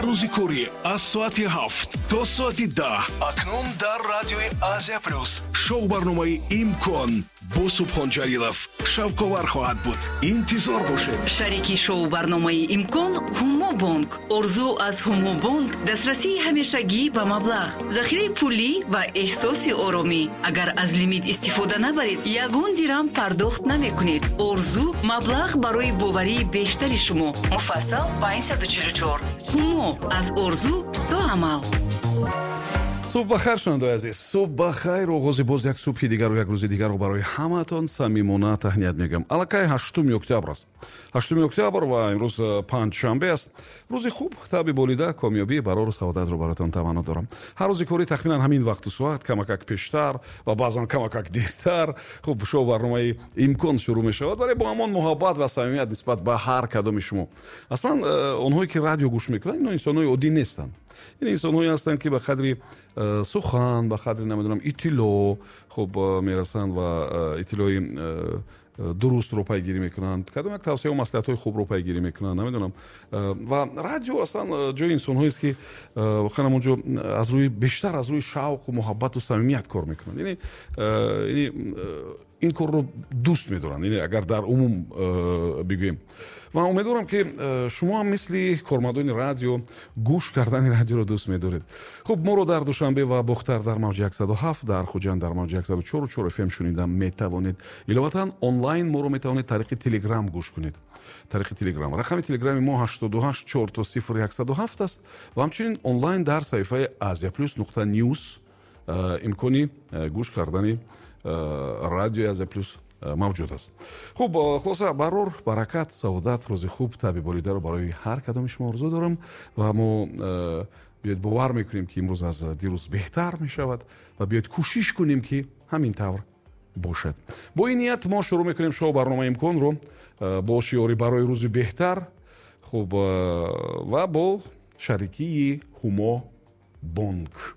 Ҳар рӯзи корӣ аз соати 7 то соати 10. Акнун дар радиои Азия Плюс шоу барномаи «Имкон» бо Субҳон Ҷалилов шавқовар хоҳад буд. Интизор бошед. Шарики шоу барномаи «Имкон» Ҳумобонк. Орзу аз Ҳумобонк дастрасии ҳамешагӣ ба маблағ, захираи пулӣ ва эҳсоси оромӣ. Агар аз лимит истифода набаред, ягон дирам пардохт намекунед. Орзу маблағ барои боварии бештари шумо. Муфассал 544. Ҳумо аз орзу то амал. Субҳ бахайр, шунавандаои азиз, субҳ бахайр. Оғози боз як субҳи дигару як рӯзи дигарро барои ҳамаатон самимона таҳният мегӯям. Аллакай 8 октябр аст, 8 октябр, ва имрӯз панҷшанбе аст. Рӯзи хуб, табъи болида, комёбӣ, барору саодатро бароятон таманно дорам. Ҳар рӯзи корӣ тахминан ҳамин вақту соат, камакак пештар ва баъзан камакак дертар, хуб, шоу барномаи «Имкон» шурӯъ мешавад, вале бо ҳамон муҳаббат ва самимият нисбат ба ҳар кадоми шумо. Аслан онҳое ки радио гӯш мекунанд, ино инсонҳои оддӣ нестанд. Ин инсонҳое ҳастанд, ки ба қадри сухан, ба қадри, намедонам, иттилоъ хуб мерасанд ва иттилои дурустро пайгирӣ мекунанд, кадом як тавсияу маслиҳатҳои хубро пайгирӣ мекунанд, намедонам. Ва радио аслан ҷои инсонҳоест, ки воқеан ҳамон ҷо аз рӯи бештар аз рӯи шавқу муҳаббату самимият кор мекунанд, яъне ин корро дӯст медоранд, яъне агар дар умум бигӯем. Ва умедворам, ки шумо ҳам мисли кормандони радио гӯш кардани радиоро дӯст медоред. Хуб, моро дар Душанбе ва Бохтар дар мавҷи 107, дар Хуҷанд дар мавҷи 104,4 фм шунида метавонед. Иловатан, онлайн моро метавонед тариқи Телеграм гӯш кунед. Тариқи Телеграм, рақами Телеграми мо 88 000 107 аст. Ва ҳамчунин онлайн дар саҳифаи asiaplus.news имкони гӯш кардани радиои Азия Плюс мавҷуд аст. Хуб, хулоса, барор, баракат, саодат, рӯзи хуб, табъи болидаро барои ҳар кадоми шумо орзу дорам. Ва мо биёед бовар мекунем, ки имрӯз аз дирӯз беҳтар мешавад, ва биёед кӯшиш кунем, ки ҳамин тавр бошад. Бо ин ният мо шурӯъ мекунем шоу барномаи «Имконро» бо шиори «Барои рӯзи беҳтар», хуб, ва бо шарикии Ҳумо Бонк.